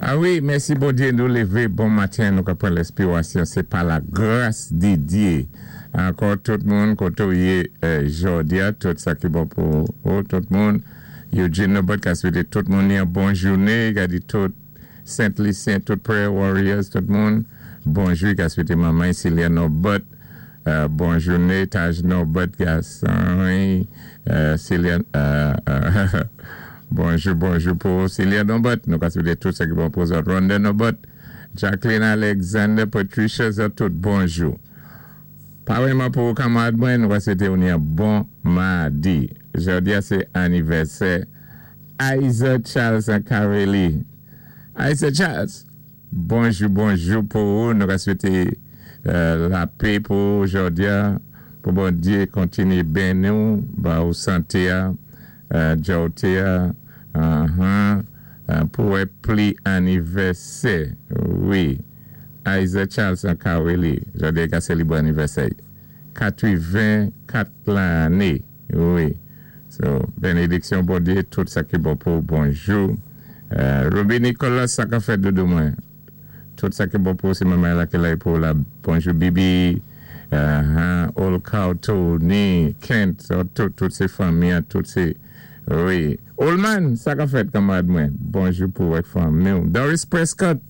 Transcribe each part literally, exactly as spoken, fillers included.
A wi, mèsi Bondyé, nou lévé bon maten, nou ka pran lespirasyon, sé pa la gras di Dye. Ankò tout moun, koté ou yé jòdi-a, tout sa ki bon pou ou, tout moun. Eugene Nobert ka swété tout moun yon bon jouné, ka di tout Saint Lucien, tout Prayer Warriors, tout moun. Bonjou, ka swété manman Celia Nobert, euh, bon jouné, Taj Nobert, gason, euh, Celia, euh, bonjou, bonjou pou Celia Nobert, nou ka swété tout sa ki bon pou zòt. Rhonda Nobert, Jacqueline Alexander, Patricia, zòt tout, bonjou. Parèyman pou kanmarad mwen, nou ka swété ou yon bon madi. Jòdi-a sé anivèsè Isaac Charles Carelli. Isaac Charles, bonjou, bonjou pou ou. Nou ka swété euh, lapè pou jòdi-a, pou Bondyé kontinyé béni ou, ba ou santé, euh, djòté, uh-huh, euh, pou wè plis anivèsè. Wi. Isaac Charles Carelli, jòdi-a ka sélébré anivèsè. katwenn-kat lanné. Wi. So, bénédiksyon Bondyé, tout sa ki bon pou bonjou. Euh, Ruby Nicolas, sa ka fèt doudou mwen. Tout sa ki bon pou sé manman la ki la pou la. Bonjou Bibi, uh, Olka, Tony, Kent, so, tout, tout sé fanmi, tout sé, wi. Olman, sa ka fèt kanmarad mwen. Bonjou pou avèk fanmi. Doris Prescott,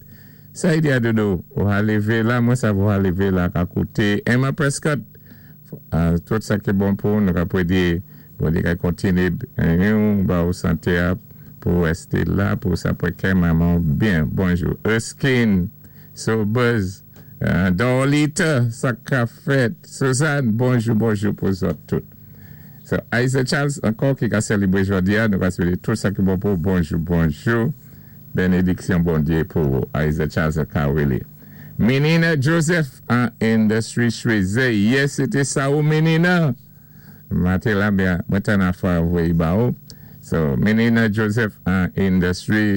sa y di-a doudou, ou a lévé la, mwen sa ou a lévé la ka kouté. Emma Prescott, uh, tout sa ki bon pou nou ka pwé di, Bondyé ka kontinyé yon ba ou santé a, pou wèsté la, pou sa pwé kè manman byen. Bonjou. Erskine, So Buzz, uh, Dorlita, sa ka fèt. Suzanne, bonjou, bonjou pou zòt tout. So, Isaac Charles, ankò ki ka sélébré jòdi-a, nou ka swété tout sa ki bon pou bonjou, bonjou. Bénédiksyon Bondyé pou ou. Isaac Charles Kawili. Menina Joseph an Industry Choisy. Yes, sété sa ou Menina. Maten la byen, mwen tann afè voyé ba ou. So, Menina Joseph an Industry